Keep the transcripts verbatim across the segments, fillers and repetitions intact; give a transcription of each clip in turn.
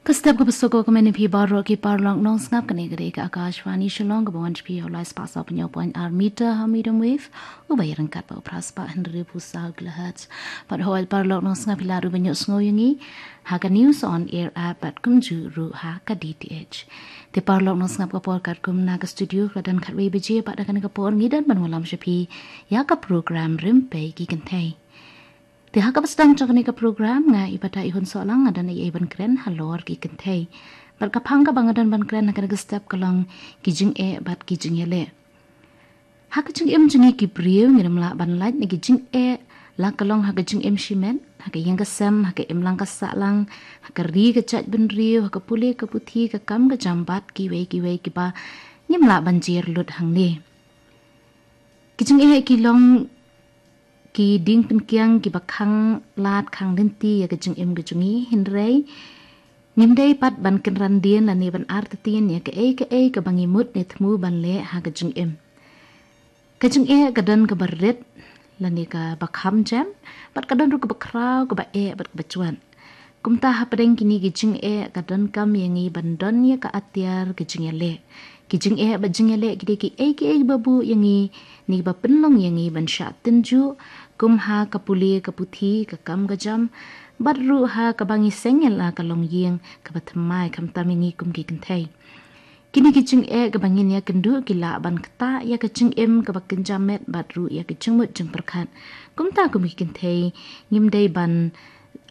Ka step ka ba suk ka kmen ïa phi baroh ki paralok nongsngap, kane ka dei ka Akashvani Shillong ka ba wan sha phi ha u lai spah saw phew hynñiew point ar meter ha medium wave, u ba ïaryngkat bad u phra spah hynriewphew saw kilohertz. Bad hooid paralok nongsngap, phi lah ruh ban ïohsngew ïa ngi ha ka News on Air app bad kumjuh ruh ha ka D T H. Te paralok nongsngap, ka por katkum na ka studio ka la don khatwei baje, bad ha kane ka por ngi don ban wallam sha phi ïa ka program Rympei ki Kynthei. Te ha kaba sdang jong kane ka program, nga i Patai Hun Sohlang nga don ei ei ban kren halor ki kynthei. Bad ka phang kaba nga don ban kren ha kane ka step ka long ki jingeh bad ki jingïaleh. Ha ka jingim jong ngi ki briew ngim lah ban lait na ki jingeh, la ka long ha ka jingim shimet, ha ka ïing ka sem, ha ka imlang ka sahlang, ha ka ri ka jaitbynriew, ha ka pule ka puthi, ka kam ka jam bad kiwei kiwei kiba ngim lah ban jer lut hangne. Ki jingeh ki long ki dieng pynkiang kiba khang lad khang lynti ïa ka jingim ka jong ngi, hynrei ngim dei pat ban kynran dien lane ban artatien ïa kaei kaei kaba ngi mut ne thmu ban leh ha ka jingim. Ka jingeh ka don kaba rit lane kaba kham jem, bad ka don ruh kaba khraw, kaba eh bad kaba jwat. Kumta hapdeng kine ki jingeh ka donkam ïa ngi ban don ïa ka atiar ka jingïaleh. Ki jingeh bad jingïaleh ki dei kiei kiei ba buh ïa ngi ne ba pynlong ïa ngi ban shah tynjuh, kum ha ka pule ka puthi, ka kam ka jam, bad ruh ha kaba ngi seng ïa la ka longïing kaba thymmai, khamtam ïa ngi kum ki kynthei. Kine ki jingeh kaba ngin ïakynduh ki lah ban ktah ïa ka jingim kaba kynja met bad ruh ïa ka jingmut jingpyrkhat. Kumta kum ki kynthei ngim dei ban,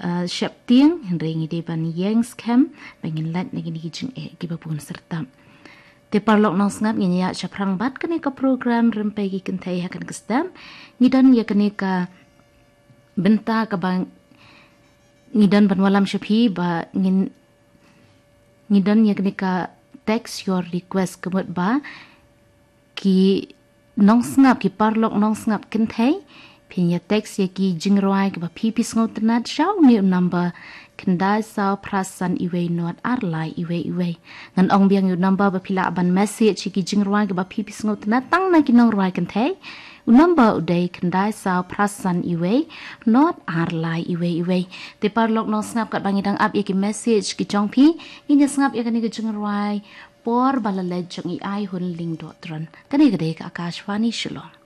ah, sheptieng, hynrei ngi dei ban ïeng skhem ba ngin lait na kine ki jingeh kiba bun syrtap. Te paralok nongsngap, ngin ïa shaphrang bad kane ka program Rympei ki Kynthei ha kane ka step. Ngi don ïa kane ka bynta kaba ngi don ban wallam sha phi ba ngin ngi don ïa kane ka text your request, ka mut ba ki nongsngap, ki paralok nongsngap kynthei, phin ïa text ïa ki jingrwai kiba phi phi sngewtynnat sha une u number khyndai saw phra san iwei nod ar lai iwei iwei. Ngan ong biang ïa u number ba phi lah ban message ïa ki jingrwai kiba phi phi sngewtynnat tang na ki nongrwai kynthei. U number u dei khyndai saw phra san iwei nod ar lai iwei iwei. Te paralok nongsngap, katba ngi dang ap ïa ki message ki jong phi, ngin ïa sngap ïa kane ka jingrwai Por Ba La Leit jong i Aihun Lyngdohtron. Kane ka dei ka Akashvani Shillong.